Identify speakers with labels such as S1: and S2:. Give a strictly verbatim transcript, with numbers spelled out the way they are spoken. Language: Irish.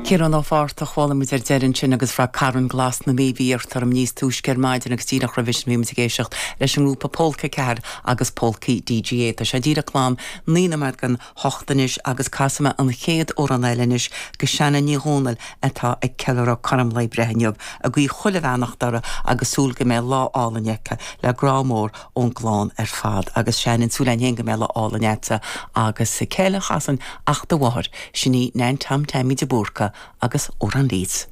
S1: Ciarán Ó Fátharta chuala muid ar deireadh sin agus fra Carn Glas na Mí bhí orm níos túisce ar maidin agus díreach roimhe sin bhí muid ag éisteacht leis an ngrúpa Polca Ceathair agus Polcaí DGA. Tá sé díreach lán naoi nóiméad don hocht anois agus casfaidh mé an chéad amhrán eile anois go Shannon Ní Dhomhnaill atá ag ceiliúradh cothrom lae breithe inniu ag guí chuile bheannacht uirthi agus súil go mbeidh lá álainn aici le grá mór ón gclann ar fad agus Shannon súil againn go mbeidh lá álainn agat agus cé eile a chasann ach do mháthair sin í Nan Tom Taimí de Búrca agus Amhrán Leeds.